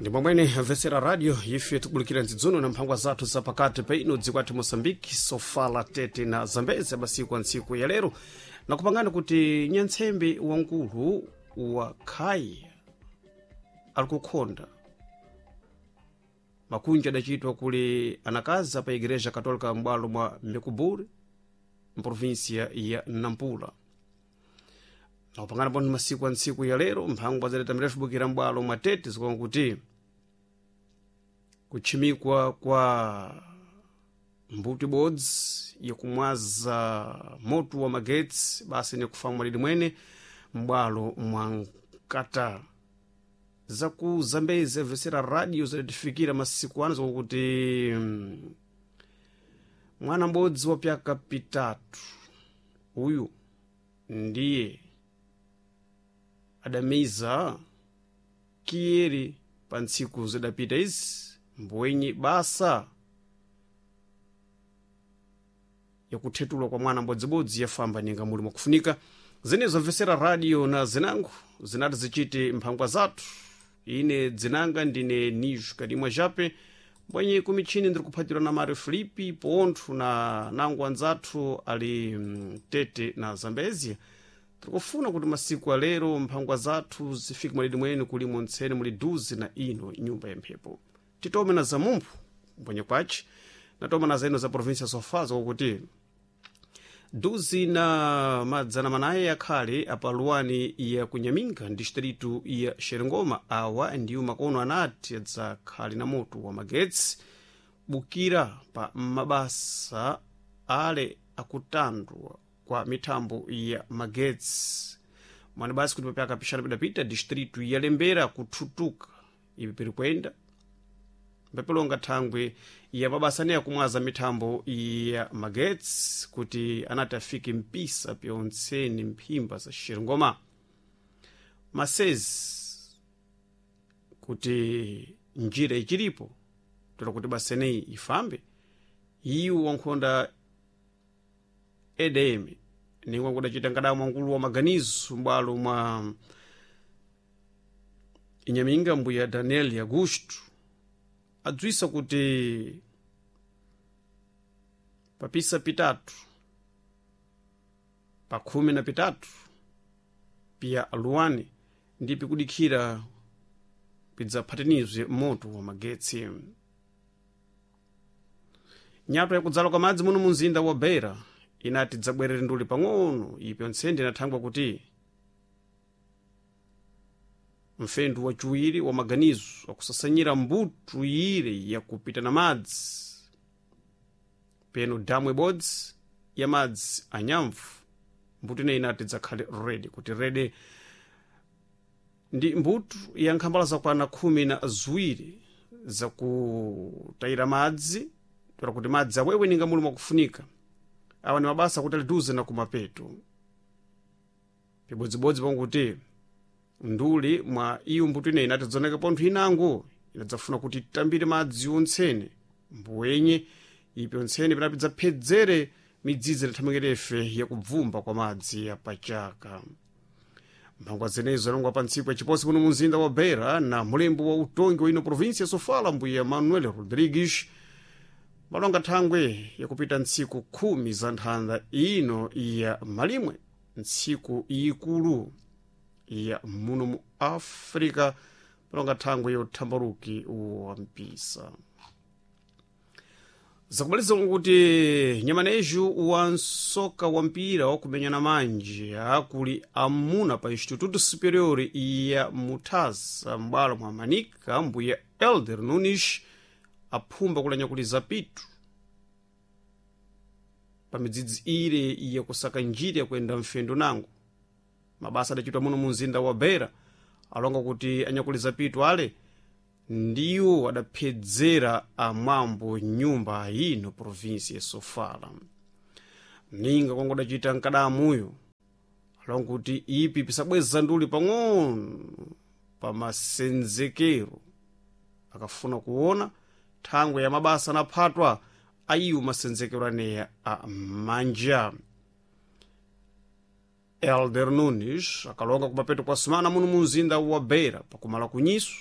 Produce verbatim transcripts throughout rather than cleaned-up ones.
Ndi momwene amvetsera radio ife tikubulikira ndzidzuno na mphangwa zathu zapakati pa ino dziko athu Moçambique, Sofala, Tete na Zambezi masiku a ntsiku ya lero, nakupangani kuti nyantsembe wankulu wa khai ali kukhonda makunja adacitwa kuli anakazi pa Igreja Católica m'bwalo mwa Mekuburi, mprovinsia ya Nampula. Nakupangana pano masiku a ntsiku ya lero mphangwa zaleta mirefu bukira m'bwalo mwa Tete zikuona kuti kutchimikwa kwa mbuto ibodzi yakumwaza moto wa magetsi basi ni kufa mwalidi mwene m'bwalo mwa Nkata. Zaku Zambezi amvetsera radio zidatifikira masiku ano zikuti mm, mwana m'bodzi wa pyaka pitatu uyu ndiye adamiza kiyeri pa ntsiku zidapita izi mbwenye basa yakuthetulwa kwa mwana mbodzibodzi yafamba ninga muli mwakufunika. Zenezo mvesera radio na zinango zinati zichite mphangwa zathu. Ine dzinanga ndine Nijo Kadimwa Jape, mbwenye kumichini ndiri kuphatirwa na Mario Filipi pontho na nango anzathu ali mm, Tete na Zambezia. Tikufuna kuti masiku alero mphangwa zathu zifike mwalidi mwene kulimo ntsene muli duzi na ino nyumba ya mphepo. Titome na zamumphu mbwenye kwaci natoma na zaino za província Sofala kuti duzi na madzana manayi akhale apaluwani ya Kunyaminga distritu ya Xerengoma. Awa ndiwo makono anati adzakhale na moto wa magetsi bukira pa mabasa ale akutandwa kwa mithambo ya magetsi mwani basi kuti papyaka pixana pidapita distritu ya Lembera kuthutuka ipi piri kuyenda mbepelonga thangwe ya mabasa ane akumwaza mithambo ya magetsi kuti anati afike mpisa pyontseni mphimba za Xerengoma masezi kuti njira ichilipo tola kuti baseneyi ifambe. Iwo wankhonda E D M ningwa kudacita nkadamu wankulu wa maganizo m'bwalo mwa Inyaminga mbuya Daniel Augusto adzwisa kuti papisa pitatu pa khumi na pitatu piya aluwani ndi pikudikhira pidzaphatanizwe moto wa magetsi. Nyato yakudzala kwa madzi muno munzinda wa Beira inati dzabwerere nduli pang'ono ipi ontsende inathangwa kuti mfendu waciwiri wa maganizo akusasanyira mbuto ire yakupita na madzi peno damu ibodzi ya madzi anyamvu. Mbuto ineyi inati dzakhale redi kuti redi ndi mbuto ya nkhambala zakwana khumi na ziwiri zakutayira madzi tola kuti madzi awewe ninga muli mwakufunika. Awa ni mabasa kuti aliduze na kumapeto pibodzibodzi pakuti nduli mwa iyo mbuto ineyi inati dzoneka pontho inango inadzafuna kuti titambire madzi ontsene mbuwenye ipi ontsene pinapi dzaphedzere midzidzi inathamangirefe yakubvumba kwa madzi yapachaka. Mphangwa zenezo zalongwa pa ntsiku ya chiposi muno munzinda wa Beira na mulembo wa utongi wa ino província ya Sofala mbuya Manuel Rodrigues malonga thangwe yakupita ntsiku khumi za nthanda ino ya malimwe, ntsiku ikulu ya muno mu Africa, malonga thangwe yothambaluki wa mpisa. Zakubaliza kuti nyamaneju wa nsoka wa mpira wakumenyana manje akuli amuna pa Instituto Superior ya Mutasa m'bwalo mwa Manika mbuya Elder Nunes aphumba kulanya kuli zapitu pa midzidzi ire yakusaka njira yakuyenda mfendo nango. Mabasa adachitwa muno mu mzinda wa Beira alonga kuti anyakuli zapitu ale ndiwo adaphedzera amwambo nyumba ino provinsi ya Sofala. Ninga kwangu adachita mkadamuyo alonga kuti ipi pisabweza nduli pang'ono pa masenzekero akafuna kuona thangwe ya mabasa anaphatwa ayiwo masenzekero aneya a manja. Elder Nunes akalonga kumapeto kwa sumana muno mu mzinda wa Beira pakumala kunyiso.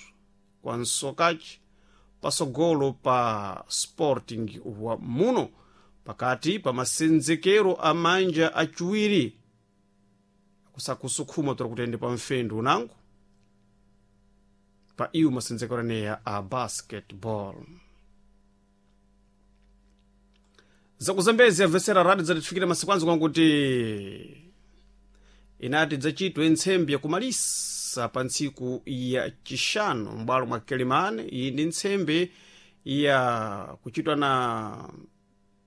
kwa nsokachi pasogolo pa Sporting wa muno pakati pa masenzekero a manja achiwiri kusakusukhuma tora kutende pa mfendu unango pa iwo masenzekero aneya a basketball. Zakuzambezi amvesera radio zatifikira masiku anzo kwankuti inati dzachitwe ntsembe yakumalisa pa ntsiku ya chixanu m'bwalo mwa Kelimane. Iyi ndi ntsembe ya kuchitwa na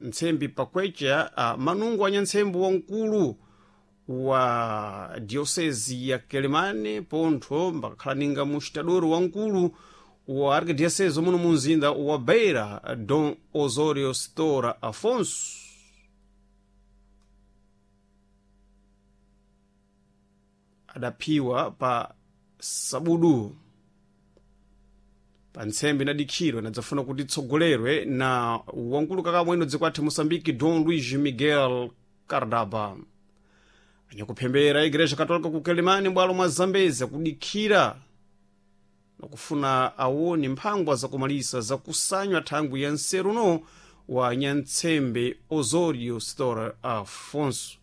ntsembe pakwecha uh, manungo anya ntsembe wamkulu wa diocese ya Kelimane pontho mbakakhala ninga muxitadoro wamkulu wa arquidiocese muno mu mzinda wa Beira, Dom Osório Stora Afonso. Adaphiwa pa sabudu pa ntsembe inadikhidwa inadzafuna kuti itsogolerwe na wamkulu kakamweno dziko athu Moçambique, Dom Luís Miguel Cardaba. Anyakuphembera Igreja Católica ku Quelimane m'bwalo mwa Zambezi akudikhira nakufuna awone mphangwa zakumalisa zakusanywa thangwi ya nseru no wa nyantsembe Osório Stora Afonso.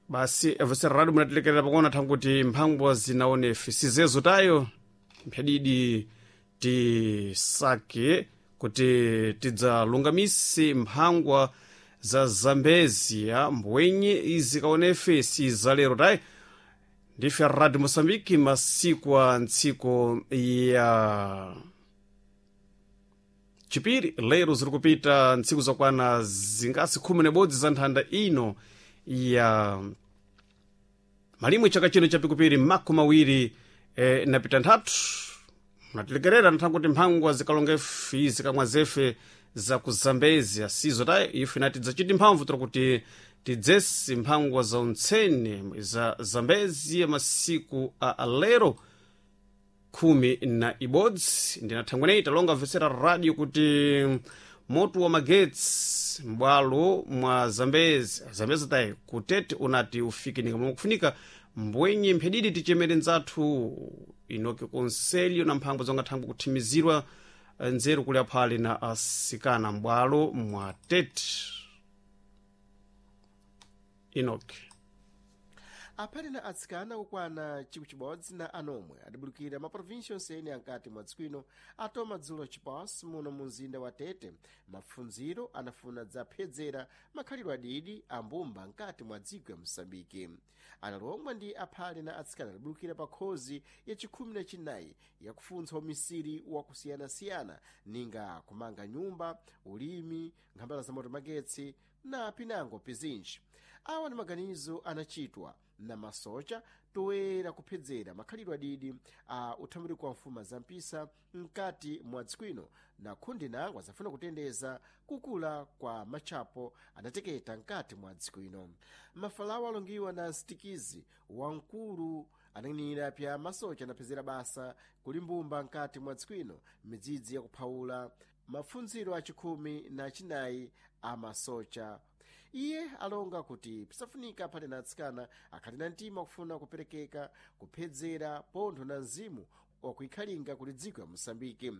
Basi avesera radio munatilekerera pakona thanguti mphangwa zinaonefe sizezo tayo mphadidi tisake kuti tidzalungamise mphangwa za Zambezia mbwenye izikaonefe sizalero tayi. Ndife Radio Moçambique masiku a ntsiko ya chipiri lero ziri kupita ntsiku zakwana zingasi khumi nebodzi za nthanda ino ya malimwe chaka chino chapikupiri makumi mawiri e, napita nthatu. Munatilekerera nthangu kuti mphangwa zikalonga ife zikamwa zefe za ku Zambezia sizo tayi ife nati dzachiti mphamvu tora kuti tidzesi mphangwa za untsene za Zambezia masiku a lero khumi na ibodzi. Ndinathangweneyi talonga mvesera radio kuti moto wa magetsi m'bwalo mwa Zambezi Zambezi tayi kutete unati ufike ninga kufunika mbwenye mphedidi tichemere nzathu inoke konselho na mphangwa zonga thangwe kuthimizirwa nzeru kuli aphale na asikana m'bwalo mwa tete inoke. Aphale na atsikana okwana chikwi chibodzi na anomwe adibulukira maprovinsi onsene ankati mwa dziko ino atoma dzulo chiposi muno mu mzinda wa Tete. Mapfundziro anafuna dzaphedzera makhalidwe adidi ambumba nkati mwa dziko ya Moçambike. Analongwa ndi aphale na atsikana adibulukira pa khozi ya chikhumi na chinayi yakufuntsa umisiri wakusiyanasiyana ninga kumanga nyumba, ulimi, nkhambala za moto magetsi na pinango pizinji. Awa ni maganizo anachitwa na masocha toyera kuphedzera makhalidwe adidi a uthambiliko wa mfuma za mpisa mkati mwa dziko ino na khundi nango azafuna kutendeza kukula kwa matchapo anateketa mkati mwa dziko ino. Mafalawo alongiwa na msitikizi wamkulu anang'inira pya masocha anaphedzera basa kulimbumba mkati mwa dziko ino midzidzi yakuphawula mapfundziro achikhumi na chinayi a masocha. Iye alonga kuti pisafunika aphale na atsikana akhali na mtima kufuna kuperekeka kuphedzera pontho na mzimu wakuikhalinga kuli dziko ya Moçambike.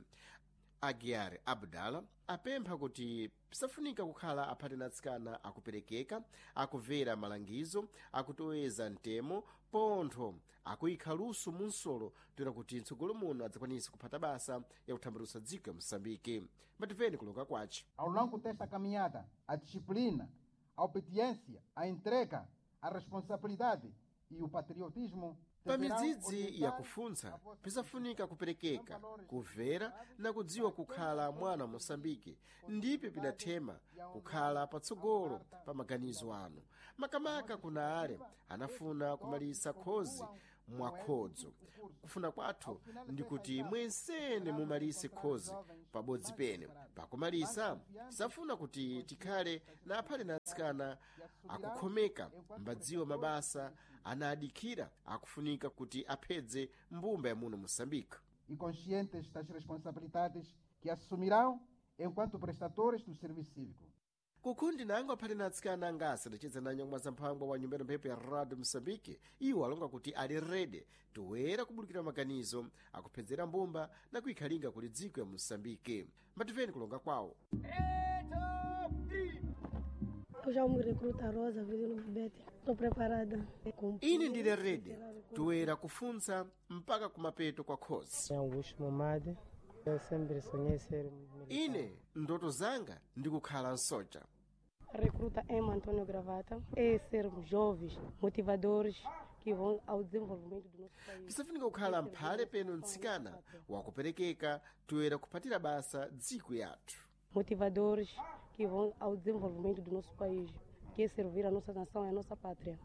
Aguiar Abdala apempha kuti pisafunika kukhala aphate na atsikana akuperekeka, akuvera malangizo, akutoweza mtemo pontho akuyikha luso mu nsolo toera kuti mtsogolo muno adzakwanise kuphata basa yakuthambalusa dziko ya Moçambike. Mativeni kulonga kwace. Ao longo desta caminhada, a disciplina, a obediência, a entrega, a responsabilidade e o patriotismo Pa midzidzi yakufuntsa pisafunika kuperekeka, kumvera na kudziwa kukhala mwana wa Moçambike ndipo pidathema kukhala patsogolo pa maganizo anu. Makamaka kuna ale anafuna kumalisa khozi mwakhodzo. Kufuna kwathu ndi kuti mwensene mumalise khozi pabodzi pene. Pakumalisa safuna kuti tikhale na aphale na atsikana akukhomeka mbadziwa mabasa anadikhira akufunika kuti aphedze mbumba ya muno Moçambique. E conscientes das responsabilidades que assumirão enquanto prestadores do serviço cívico. Kukhundi nango aphati na atsikana angasi adaceza na nyamwa za mphangwa wa nyumba ya mphepo ya Radio Mosambike, iwo alonga kuti ali rede toera kubulukira maganizo akuphedzera mbumba na kuikhalinga kuli dziko ya Mosambike. Mbatimveni kulonga kwawo. Eu já me recruta Rosa Vilino Bete. Estou preparada. Ine ndili rede toera kufunsa mpaka kumapeto kwa khozi. Augusto Momade. Eu sempre sonhei ser militar. Ine ndoto zanga ndikukhala nsoja. Recruta M. Antônio Gravata. É sermos jovens, motivadores que vão ao desenvolvimento do nosso país. Tisafunika kukhala mphale peno mtsikana wakuperekeka toera kuphatira basa dziko yathu. Motivadores que vão ao desenvolvimento do nosso país, que é servir a nossa nação e a nossa pátria.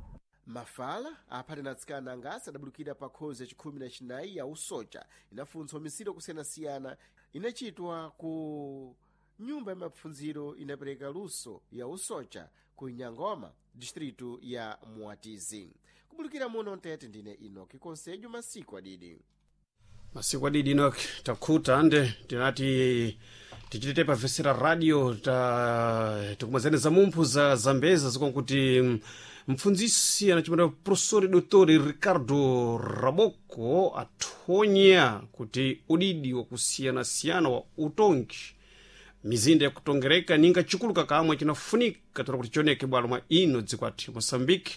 Mafala aphati na atsikana angasi adabulukira pa khozi yachikhumi na chinayi ya usoja inafunsa misiro kusiyanasiyana inachitwa ku nyumba ya mapfundziro inapereka luso ya usoja ku Nyangoma, distritu ya Muatizi. Kubulukira muno mtete ndine Inoki Konsejo masiku adidi. Masiku adidi Enoch takhuta ande tinati tichitite pavesera radio ta tikumwazani za mumphu za zambeza zikonkuti mm, mpfundzisi anachimata professori dottori Ricardo Raboko athonya kuti udidi wakusiyanasiyana wa utongi mizinda yakutongereka ninga chikuluka kamwe chinafunika tola kuti chioneke bwalo mwa ino dziko athu Moçambique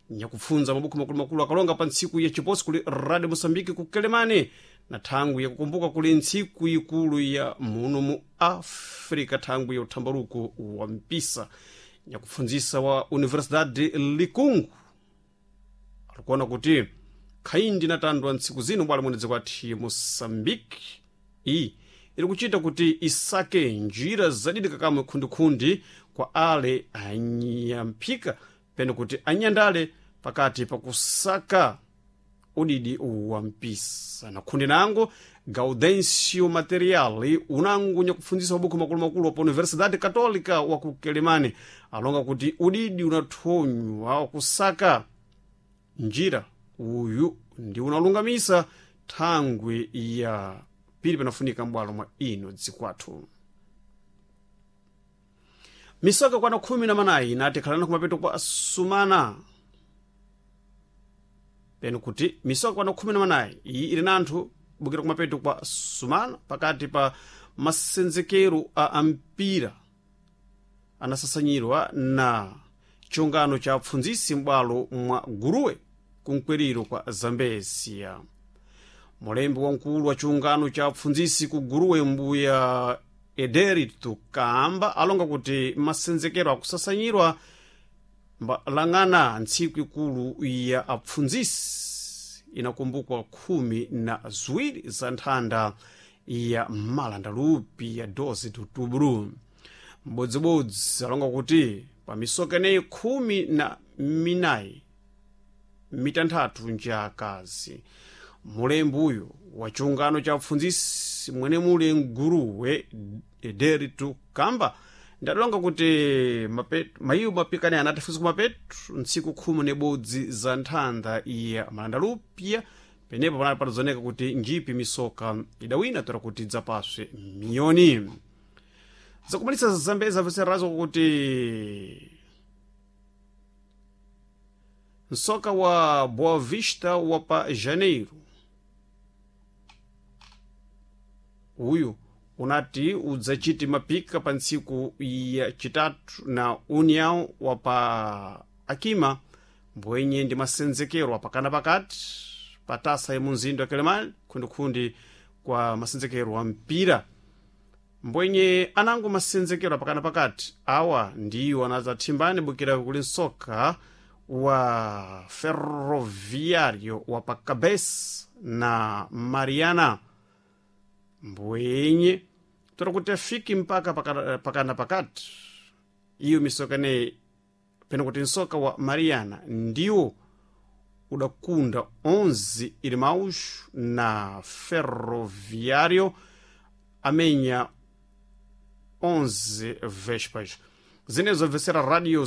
nyakupfunza mabuku makulumakulu akalonga pa ntsiku ya chiposi kuli Radio Moçambique ku Kelemane na thangwi yakukumbuka kuli ntsiku ikulu ya muno mu Africa thangwi ya uthambaluko wa mpisa nyakupfundzisa wa Universidade Likungu alikuona kuti khaindi natandwa ntsiku zino bwalo muno dziko athu Moçambique iyi iri kuchita kuti isake njira zadidi kakamwe khundikhundi kwa ale anyamphika pene kuti anyandale pakati pakusaka udidi wa mpisa na khundi nango Gaudencio Materiali unangu nyakupfundzisa mabuku makulumakulu pa Universidade Católica wa ku Kelemane alonga kuti udidi unathonywa wakusaka njira uyu ndi unalungamisa thangwi ya pili panafunika m'bwalo mwa ino dzikwathu. Misoka kwana khumi na manayi inati khalani kumapeto kwa sumana peno kuti misoka kwana khumi na manayi iyi ili na anthu bukira kumapeto kwa sumana pakati pa masenzekero a ampira anasasanyirwa na chiungano cha apfundzisi m'bwalo mwa Guruwe kunkweriro kwa Zambezia. Mulembi wamkulu wa chiungano cha apfundzisi ku Guruwe mbuya Ederito Kamba alonga kuti masenzekero akusasanyirwa mbalang'ana ntsiku ikulu ya apfundzisi inakumbukwa khumi na ziwiri za nthanda ya malandalupi ya doze de outubro. Mbodzibodzi alonga kuti pa misoka ineyi khumi na minayi mitanthatu nja akazi. Mulembi uyu wa chiungano cha apfundzisi mwene muli mguruwe Ederito Kamba ndadalonga kuti mapeto mayiwo mapikani anatifunsa kumapeto ntsiku khumi nebodzi za nthanda ya malandalupya penepo panali patazoneka kuti njipi misoka idawina tola kuti idzapaswe miyoni zakumalisa zambeza veserazo kuti msoka wa Boa Vista wa pa Janeiro uyu unati udzachiti mapika pa ntsiku ya chitatu na União wa pa Akima mbwenye ndi masenzekero apakana pakati pa tasa ya munzinda wa Kelemani khundikhundi kwa masenzekero wa mpira mbwenye anango masenzekero apakana pakati awa ndiwo anadzathimbani bukira kuli msoka wa Ferroviário wa pa Cabes na Mariana mbwenye tola kuti afiki mpaka pakana, pakana pakati iyo misoka ineyi pena kuti msoka wa Mariana ndiwo udakunda onze irmãos na Ferroviário amenya onze vespas zinezo obvesera radio.